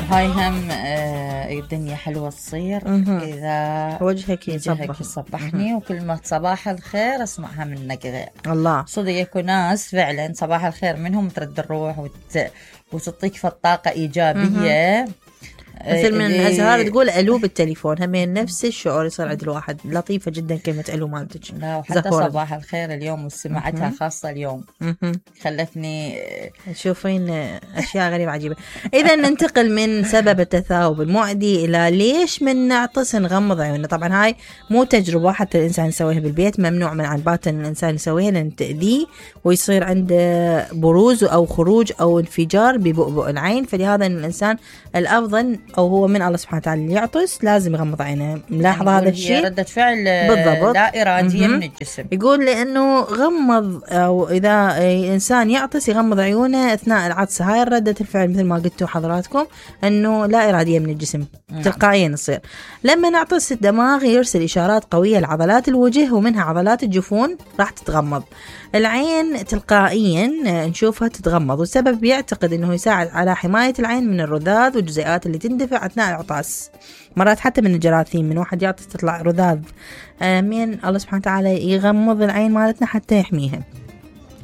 هاي هم الدنيا حلوة تصير إذا وجهك يصبحني وكلمة صباح الخير أسمعها منك غير الله. صدق يكون ناس فعلا صباح الخير منهم ترد الروح وتعطيك فالطاقة إيجابية. مثل من أزهار تقول ألو بالتليفون همين نفس الشعور يصير عند الواحد. لطيفة جدا كلمة ألو مالتك. لا وحتى صباح الخير اليوم وسمعتها خاصة اليوم خلتني تشوفين أشياء غريبة عجيبة. إذا ننتقل من سبب التثاؤب المعدي إلى ليش من نعطس نغمض عيوننا. طبعا هاي مو تجربة حتى الإنسان يسويها بالبيت، ممنوع من عن باطن الإنسان يسويها لأن تأذيه ويصير عنده بروز أو خروج أو انفجار ببؤبؤ العين. فلهذا الإنسان الأفضل أو هو من الله سبحانه وتعالى يعطس لازم يغمض عينه. ملاحظ هذا الشيء؟ ردة فعل بالضبط لا إرادية من الجسم. يقول لأنه غمض أو إذا إنسان يعطس يغمض عيونه أثناء العطس. هاي ردة الفعل مثل ما قلتوا حضراتكم أنه لا إرادية من الجسم تلقائيا يصير. لما نعطس الدماغ يرسل إشارات قوية لعضلات الوجه ومنها عضلات الجفون راح تتغمض. العين تلقائيا نشوفها تتغمض، والسبب يعتقد أنه يساعد على حماية العين من الرذاذ والجزيئات اللي تندفع أثناء العطاس. مرات حتى من الجراثيم، من واحد يعطس تطلع رذاذ. من الله سبحانه وتعالى يغمض العين مالتنا حتى يحميها.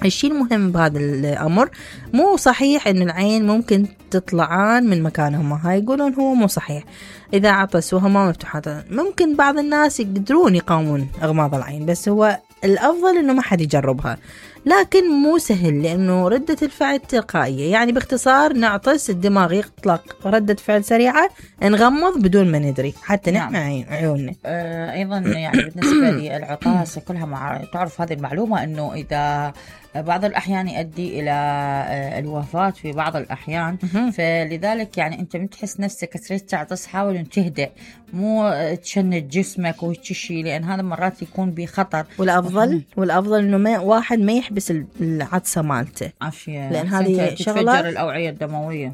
الشيء المهم بهذا الأمر مو صحيح إن العين ممكن تطلعان من مكانهما. هاي يقولون هو مو صحيح. إذا عطس وهما مفتوحتان ممكن بعض الناس يقدرون يقاومون إغماض العين، بس هو الأفضل إنه ما حد يجربها. لكن مو سهل لأنه ردة الفعل تلقائية. يعني باختصار نعطس الدماغ يطلق ردة فعل سريعة نغمض بدون ما ندري حتى نحمي عيوننا. أيضا يعني بالنسبة لي العطاس كلها تعرف هذه المعلومة أنه إذا بعض الأحيان يؤدي إلى الوفاة في بعض الأحيان. فلذلك يعني أنت بتحس نفسك تريد تعطس حاول أن تهدأ، مو تشنج جسمك وتشي، لأن هذا مرات يكون بخطر. والأفضل إنه واحد ما يحبس العطسة مالته، لأن هذه شغلة تتفجر الأوعية الدموية.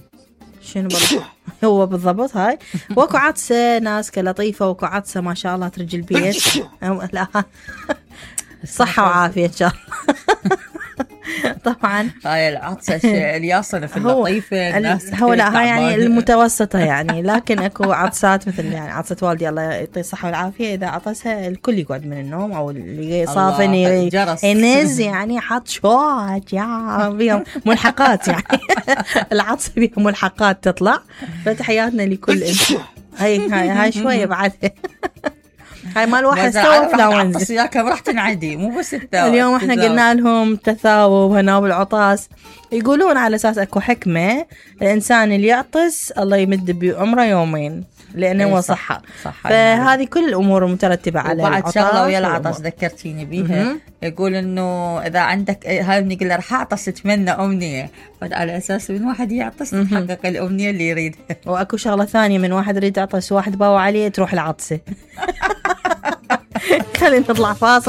شنو بالضبط؟ هو بالضبط هاي وكو عطسة ناس كلطيفة وكو عطسة ما شاء الله ترجي البيت. لا صحة وعافية إن شاء الله. طبعا هاي العطسة الياصنة في اللطيفة الناس هو لا هاي يعني المتوسطة يعني. لكن اكو عطسات مثل يعني عطسة والدي الله يعطيه الصحة والعافية، إذا عطسها الكل يقعد من النوم أو اللي صافن ينز يعني حط شوات يعني بيهم ملحقات يعني. العطسة بيهم ملحقات تطلع. فتحياتنا لكل هاي شوية بعد. هاي مال واحد سوى فلاونز يا كم راح تنعدي مو بس اليوم احنا قلنا لهم تثاؤب هنا بالعطاس. يقولون على اساس اكو حكمة الانسان اللي يعطس الله يمد بعمره يومين لانه هو صحة. فهذه كل الامور المترتبة على العطاس. وبعد شغلة ويا العطس ذكرتيني بيها. يقول انه اذا عندك هاي بنقول له راح اعطس اتمنى امنية، على اساس من واحد يعطس تحقق الامنية اللي يريدها. واكو شغلة ثانية من واحد يريد يعطس واحد باوع عليه تروح العطسة. خلينا نطلع فاصل.